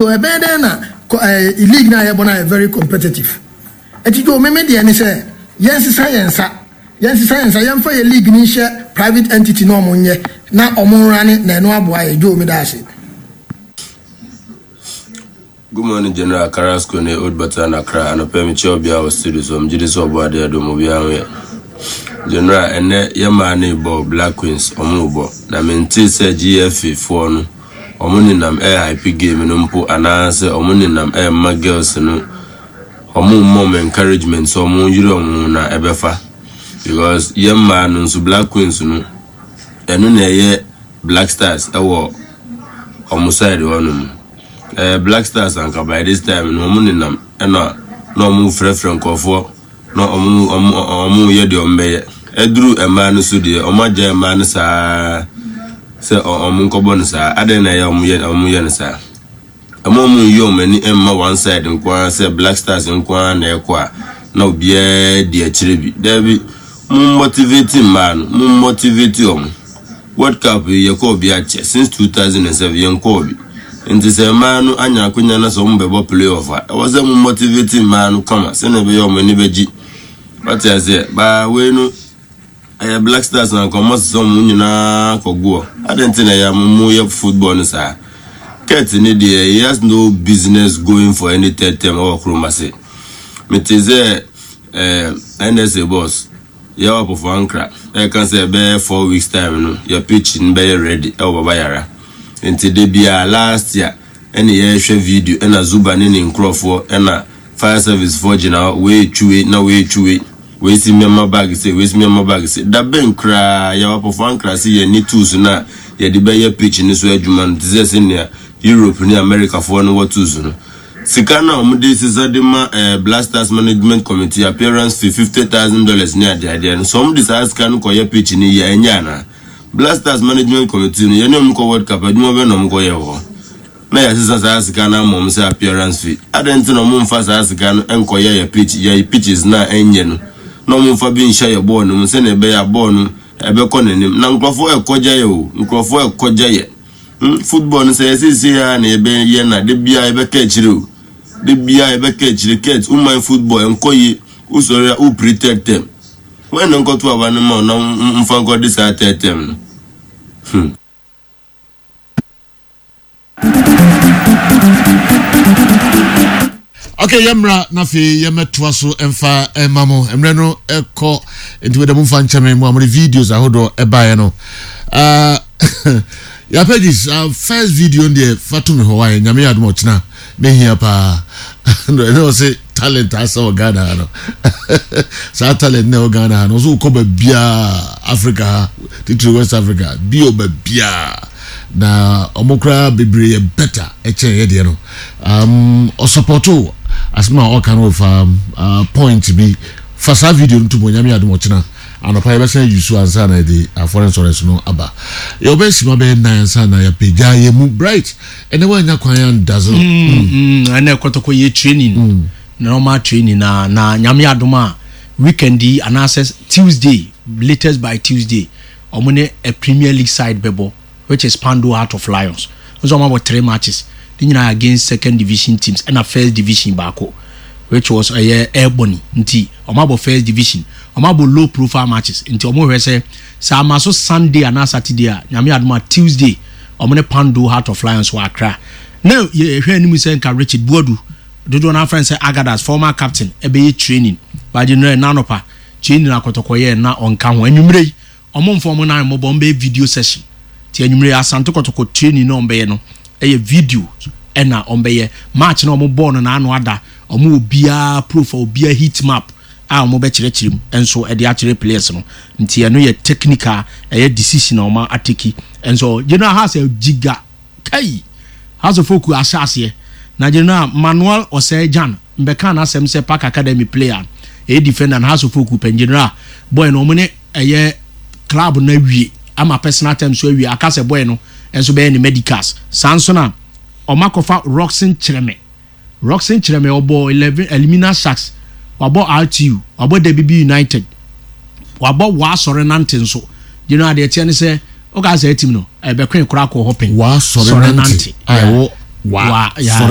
So ɛbɛyɛ dɛn na eh, league no a yɛbɔ no ayɛ very competitive? Ɛti dwo meme deɛ ne sɛ yɛnsesa yɛn nsa, yɛnsesa yɛn nsa, yɛmfa yɛ league no nhyɛ private entity na ɔmo nyɛ na ɔmo nrane na ɛno aboa yɛ. Dwo meda ase. Good morning General Carrasco ne Old Bata na Accra anɔpa yi mekyia obiara wɔ studio so megye di sɛ ɔbɔ adeɛ adom obiara ho yɛ General ɛnɛ yɛ maa ne bɔ Black Queens ɔmo bɔ na mentee sɛ GFA foɔ no ɔmo nenam ɛyɛ hype game no mpo anaasɛ ɔmo nenam ɛma girls no ɔmo mmɔ ɔmo encouragement sɛ ɔmo yere ɔmo ho na ɛbɛfa because yɛ mmaa no nso Black Queens no ɛno na ɛyɛ Black Stars ɛwɔ ɔmo side hɔ nom ɛɛ Black Stars anka by this time no ɔmo nenam ɛna na ɔmo frɛfrɛ nkurɔfoɔ na ɔmo ɔmo ɔmo yɛ deɛ ɔmo bɛyɛ ɛduru mmaa no so deɛ ɔmo agya mmaa no saa sɛ ɔmo nkɔbɔ no saa adɛn na ɛyɛ ɔmo yɛ ɔmo yɛ no saa Ɛma ɔmo nyi ɔmo ani mma one side nko ara sɛ Black Stars nko ara na ɛkɔ a na obiara di akyire bi. Daabi, mo motivate mmaa no, mo motivate ɔmo. World Cup yi yɛkɔɔ bi akyɛ, since 2007 yɛnkɔɔ bi. Nti sɛ mmaa no anya akonya na sɛ ɔmo bɛbɔ play off a, ɛwɔ sɛ mo motivate mmaa no kama sɛnea ɛbɛyɛ ɔmo ani bɛgye. Wate aseɛ? Baa wei no. Ɛyɛ Black Stars na nka ɔmo asesa ɔmo nyinaa kɔ goɔ. Adɛn nti na ɛyɛ a mo yɛ football no saa? Kurt ne deɛ he has no business going for any third term ɛwɔ kurom ase. Mete sɛ eh, NSA boss Yaw Apofo Ankra ɛka sɛ ɛbɛyɛ 4 weeks time no yɛ pitch no bɛyɛ ready ɛwɔ Baba Yara. Nti da biara last year ɛne yɛhwɛ video ɛna Zuba ne ne nkurɔfoɔ ɛna fire service foɔ gyina hɔ wei retwi wei na wei retwi wei. Wei si mɛma bag se, wei si mɛma bag se. Da bɛn koraa yɛwɔ apɔfo ankra se yɛn ni tools no a yɛde bɛyɛ pitch no so adwuma no te sɛ sɛnea Europe ne Americafoɔ no wɔ tools no. Sika no a wɔde sesa de ma eh, Black Stars Management Committee appearance fee $50,000 ne adeadeɛ no, sɛ wɔde saa sika no kɔyɛ pitch no yie a, ɛnyɛ anaa? Black Stars Management Committee no, yɛne wɔn kɔ World Cup, adwuma bɛn na wɔkɔyɛ wɔ hɔ? Na yɛasesa saa sika no ama wɔn sɛ appearance fee. Adɛn nti na wɔmfa saa sika no nkɔyɛ yɛn pitch, yɛn pitches no a ɛnyɛ no, na wɔmfa bi nhyɛ yɛn bɔɔl no mu sɛnea ɛbɛyɛ a bɔɔl no ɛbɛkɔ n'anim. Na nkurɔfoɔ ɛkɔgya yɛ o, nkurɔfoɔ ɛkɔgya yɛ. Hmm, football no sɛ yɛ seesei ara na yɛbɛyɛ na da biara yɛbɛka akyire o. Da biara yɛbɛka akyire. Kurt, woman football ɛnkɔ yie, wosɔre a wopiri third term. Wɔn na nkɔto aba no ma wo na mfa nkɔde saa third term no. Hmm. Okay, yɛmmra na afei yɛmmɛtoa so mfa ɛma mo mmerɛ no ɛkɔ nti wɛdɛ mo mfa nkyɛ me mo a mode videos ahodoɔ ɛbaeɛ no uh, yɛ pages uh, first video no deɛ fa to me hɔ wayɛ nyame yɛ adom ɔkyena mehia paa ɛne ɔse talent asɛ wɔ Ghana ha no saa talent na ɛwɔ Ghana ha no ɔso wokɔ baabiaa Africa ha titiri West Africa bi wɔ baabiaa na ɔmo koraa bebree yɛ better ɛkyɛn yɛ deɛ no um, ɔsupɔto asɛm a ɔka no fa uh, point bi fa saa video no to mu onyame adom ɔkyena anɔpa yɛbɛsan ayi so ansa na yɛde afɔre nsɔre no aba yɛwɔbɛyɛ sima bɛyɛ nan ansa na yɛapagya yɛ mu bright ɛnɛ woanya kwan andaze mm, mm, ɛnɛ kɔtɔkɔ yɛ training mm. normal training na na nyame adom a weekend yi anaasɛ Tuesday, latest by Tuesday, ɔmo ne a Premier League side bɛbɔ, which is Kpando Heart of Lions. Nso ɔmo abɔ three matches ne nyinaa against second division teams ɛna first division baako, which was ɛyɛ Ebony. Nti ɔmo abɔ first division, ɔmo abɔ low profile matches. Nti ɔmo hwɛ sɛ sɛ ama so Sunday anaa Saturday a, nyame adom a Tuesday ɔmo ne Kpando Heart of Lions wɔ Accra. Na yɛhwɛ anim sɛ nka Richard Boadu, dodoɔ no afrɛ no sɛ Agadas former captain, ɛbɛyɛ training, but no ɛna anɔpa training akɔtɔkɔ yɛ na ɔnka ho. Anwummerɛ yi ɔmo mfa ɔmo nan mmɔbɔ, ɔmo bɛyɛ video session. Nti anwummerɛ yi Asante Kɔtɔkɔ training na ɔmo bɛyɛ no ɛyɛ video ɛna ɔmo bɛyɛ. Match na ɔmo bɔɔ no n'ano ada, ɔmo wɔ biara profile, obiara heat map a ɔmo bɛkyerɛkyerɛ mu nso ɛde akyerɛ players no. Nti ɛno yɛ technical ɛyɛ decision a ɔmo ateki nso. General House jiga kai House of Folk ahyɛ aseɛ na General Manuel Osei Jan mbɛka n'asɛm sɛ Park Academy player ɛyɛ defender na House of Folk pɛn General boy no ɔmo ne ɛyɛ club no awie ama personal terms so awie, aka sɛ boy no nso bɛyɛ ne medicals. Saa nso na ɔmo akɔfa Roxon Kyerɛmɛ. Roxon Kyerɛmɛ ɔbɔ 11 Elimina Sharks, wabɔ RTU, wabɔ Debibi United, wabɔ Waasɔre Nante nso. General deɛ teɛ ne sɛ woka sɛ team no ɛbɛkɔn koraa kɔ hɔ pɛn. Waasɔre Nante a ɛwɔ. Wa Wa, yeah. sɔre.